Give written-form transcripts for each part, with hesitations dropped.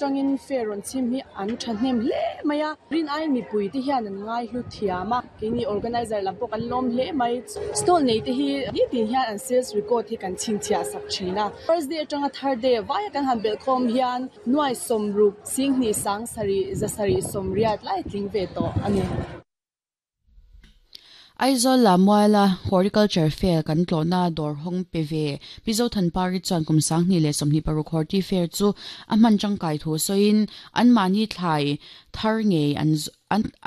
Tangin fair rawn chhim hi an thahnem hle mai a, rin aiin mipui te hian an ngai hlu thiam a, keini organizer lam pawh kan lawm hle mai. Stall nei te hi nitin hian an sales record hi kan chhinchhiah sak thin a, first day atanga third day vaia kan han belh khawm hian nuai sawmruk singhnih sang sarih zasarih sawmriat lai tling ve tawh a ni. Aizawl Lamuala Horticulture Fair kan tlawhna dawr hawng pe ve Mizo Thanpari chuan kum 2026 Horti Fair chu a hman tangkai thu sawiin anmahni thlai thar ngei an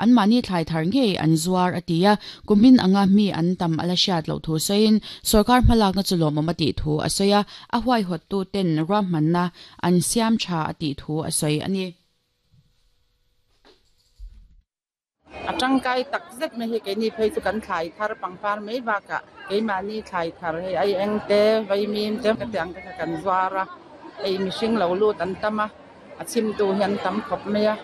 anmahni thlai thar ngei an zuar a ti a, kumin anga mi an tam a la hriat loh thu sawiin sorkar hmalakna chu lawmawm a tih thu a sawi a, a huaihawttu ten ruahmanna an siam tha a tih thu a sawi a ni. A tangkai tak zet mai hi keini phei chu kan thlai thar pangpar mai bakah keimahni thlai thar hei ai eng te vaimim te ka ti ang te kha kan zuar a, hei mihring lo lut an tam a, a chhimtu hi an tam khawp mai a,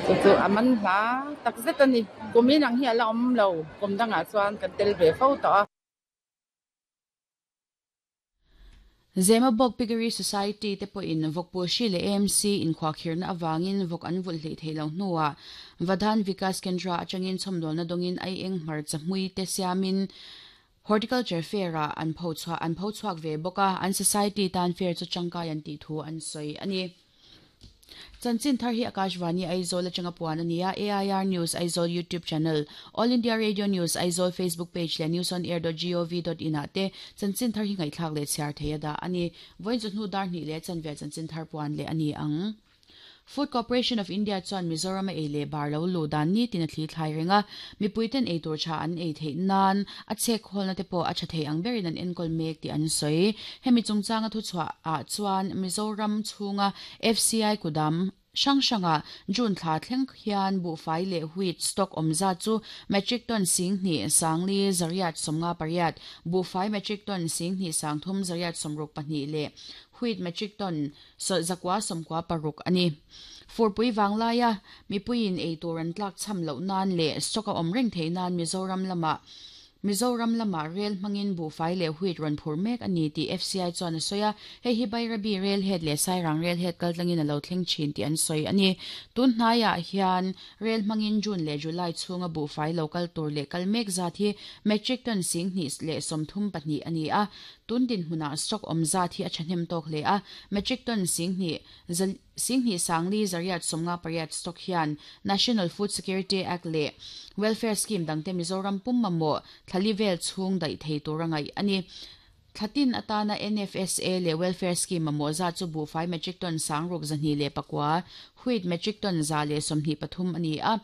chu chu a man hla tak zet a ni. Kum inang hi a la awm lo, kum dangah chuan kan tel ve fo tawh a. Zemabawk Piggery Society te pawhin vawkpul hri leh AMC inkhuahkhirhna avangin vawk an vulh hleih theih loh hnuah Vadhan Vikas Kendra atangin chhawmdawlna dawngin aieng hmarcha hmui te siamin Horticulture Fair-ah an pho chhuah an pho chhuak ve bawk a, an society tan fair chu tangkai an tih thu an sawi a ni. Chanchin thar hi Akashvani Aizawl atanga puan a ni a, AIR News Aizawl YouTube channel, All India Radio News Aizawl Facebook page leh newsonair.gov.in ah te chanchin thar hi ngaihthlak leh chhiar thei a dah a ni. Vawiin chu hnu dar hnih leh chanve chanchin thar puan leh a ni ang. Food Corporation of India chuan Mizoram a ei leh bar lo luh dan nitin a thli thlai reng a, mipuiten ei tur tha an ei theih nan a chhek khawlna te pawh a tha thei ang berin an enkawl mek tih an sawi. Hemi chungchanga thuchhuah ah chuan Mizoram chhunga FCI kudam hrang hrangah June thla thleng hian buhfai leh wheat stock awm zat chu metric ton 10,000 sangli zariat 58, buhfai metric ton 10,000 sangthum zariat 64 leh wheat metric ton 996 a ni. Furpui vanglaia mipuiin ei tur an tlak cham loh nan leh stock a awm reng theih nan Mizoram lamah Mizoram lamah rel hmangin buhfai leh wheat rawn phur mek a ni tih FCI chuan a sawi a, hei hi Bairabi Rail Head leh Sairang Rail Head kaltlangin a lo thleng thin tih an sawi a ni. Tun hnaiah hian rel hmangin June leh July chhunga buhfai lo kal tur leh kal mek zat hi metric ton 2034 a ni a, tun dinhmunah stock awm zat hi a thahnem tawk hle a, metric ton 10,000 Singhnih Sangli Zariat 58 stock hian National Food Security Act leh Welfare Scheme dangte Mizoram pum mamawh thlali vel chhung daih thei tur a ngaih a ni. Thlatin atana NFSA leh Welfare Scheme mamawh zat chu buhfai metric ton 6209, wheat metric ton 123 a ni a.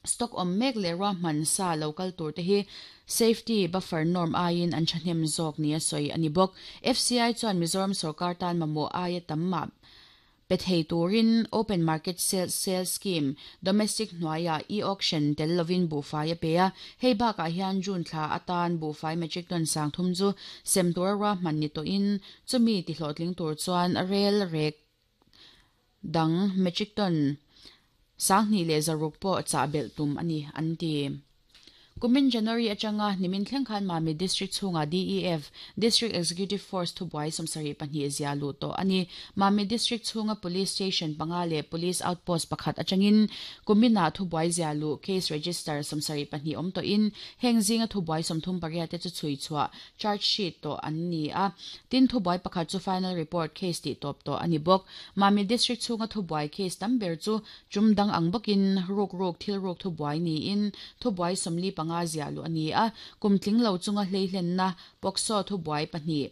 Stock awm mek leh ruahman sa lo kal tur te hi safety buffer norm aiin an thahnem zawk nia sawi a ni bawk. FCI chuan Mizoram sorkar tan mamawh aia tam mah pe thei turin open market sale scheme domestic hnuaiah e-auction tel lovin buhfai a pe a. Hei bakah hian June thla atan buhfai metric ton 30 chu sem tura ruahman ni tawhin chumi tihlawhtling tur chuan rel rek dang metric ton 2600 pawh chah belh tum a ni an ti. Kumin January atanga nimin thleng khan Mamit District chhungah DEF, District Executive Force thubuai 72 zia luh tawh a ni. Mamit District chhunga Police Station panga leh Police Outpost pakhat atangin kuminah thubuai zia luh case register 72 awm tawhin heng zinga thubuai 38 te chu chhui chhuah charge sheet tawh an ni a. Tin thubuai pakhat chu final report case tih tawp tawh a ni bawk. Mamit District chhunga thubuai case tam ber chu tum dang ang bawkin ruk ruk thil ruk thubuai niin thubuai 45 zia luh a ni a. Kum tling lo chunga hleihlenna POCSO thubuai pahnih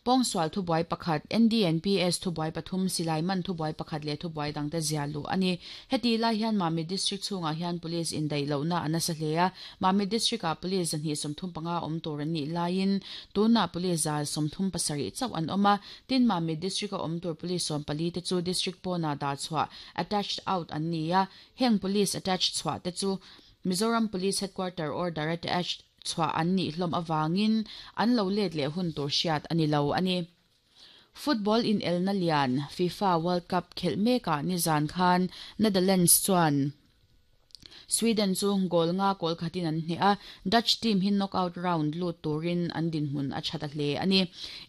pawngsual thubuai pakhat NDNPS thubuai pathum silai man thubuai pakhat leh thubuai dangte zia luh a ni. Heti lai hian Mamit District chhungah hian police indaih lohna a nasa hle a. Mamit District ah police 235 awm tur an nih laiin tunah police 137 chauh an awm a. Tin Mamit District a awm tur police 14 te chu district pawnah dah chhuah attached out an ni a. Heng police attached chhuah te chu Mizoram Police Headquarter order attached chhuah an nih hlawm awangin an lo let leh hun tur hriat a ni lo a ni. Football in elna lian FIFA World Cup khelh mekah nizan khan Netherlands chuan. Sweden chu goal nga goal khatin an hneh a, Dutch team hi knockout round lut turin an dinhmun a tha ta hle a ni.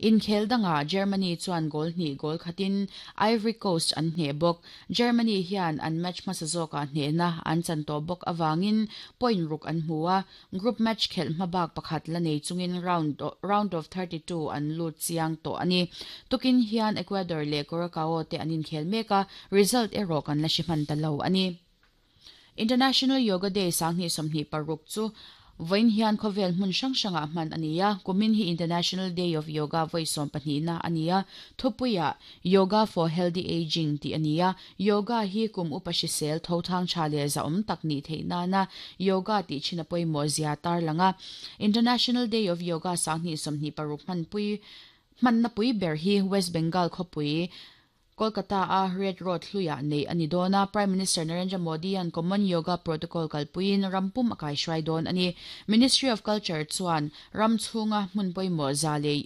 Inkhel dangah Germany chuan goal hnih goal khatin Ivory Coast an hneh bawk. Germany hian an match hmasa zawkah hnehna an chan tawh bawk avangin point ruk an hmu a, Group match khelh hmabak pakhat la nei chungin round round of 32 an lut chiang tawh a ni. Tukin hian Ecuador leh Curacao te an inkhel mek a, result erawh kan la hre hman ta lo a ni. International Yoga Day 2026 chu vawiin hian khawvel hmun hrang hrangah hman a ni a, kumin hi International Day of Yoga vawi sawmpahnihna a ni a, thupuiah Yoga for Healthy Ageing tih a ni a, Yoga hi kum upa hrisel tho thang tha leh zahawm tak nih theih nana yoga tih thin a pawimawh zia tarlang a. International Day of Yoga 2026 hmanpui hmanna pui ber hi West Bengal khawpui Kolkata a Red Road hluiah neih a ni dawn a, Prime Minister Narendra Modi-a'n Common Yoga Protocol kalpuiin ram pum a kaihruai dawn a ni. Ministry of Culture chuan ram chhunga hmun pawimawh za leh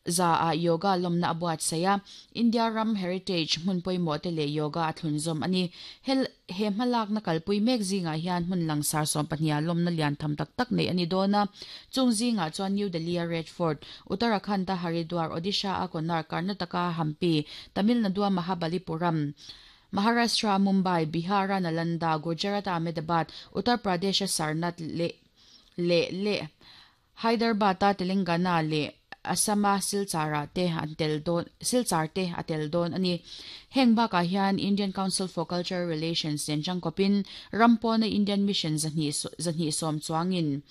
Za ah yoga lawmna a buatsaih a, India ram heritage hmun pawimawh te leh yoga a thlunzawm a ni. Hel he hmalakna kalpui mek zingah hian hmun langsar sawmpahniha lawmna lian tham tak tak neih a ni dawn a. Chung zingah chuan New Delhi-a Red Fort, Uttarakhand-a Haridwar, Odisha-a Konark, Karnataka-a Hampi, Tamil Nadu-a Mahabalipuram, Maharashtra-a Mumbai, Bihar-a Nalanda, Gujarat-a Ahmedabad, Uttar Pradesh-a Sarnath leh leh leh Hyderabad-a Telangana leh Assam-a Silchar-ah te an tel dawn Silchar te a tel dawn a ni. Heng bakah hian Indian Council for Cultural Relations nen tangkawpin ram pawna Indian Mission zahnih zahnih sawm chuangin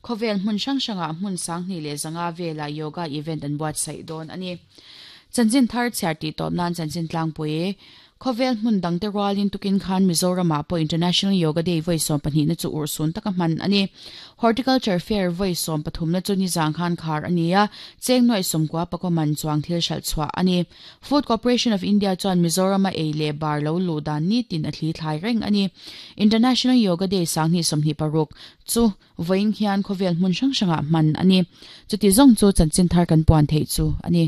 khawvel hmun hrang hrangah hmun 2500 velah yoga event an buatsaih dawn a ni. Chanchin thar chhiar tih tawp nan chanchin tlangpui Khawvel hmun dangte rualin tukin khan Mizoramah pawh International Yoga Day vawi sawmpahnihna chu urhsun taka hman a ni. Horticulture Fair vawi sawmpathumna chu nizang khan khar a ni a, cheng nuaih sawmkua pakua man chuang thil hralh chhuah a ni. Food Corporation of India chuan Mizorama ei leh bar lo luh dan nitin a thli thlai reng a ni. International Yoga Day 2026 chu vawiin hian khawvel hmun hrang hrangah hman a ni. Chuti zawng chu chanchin thar kan puan theih chu a ni.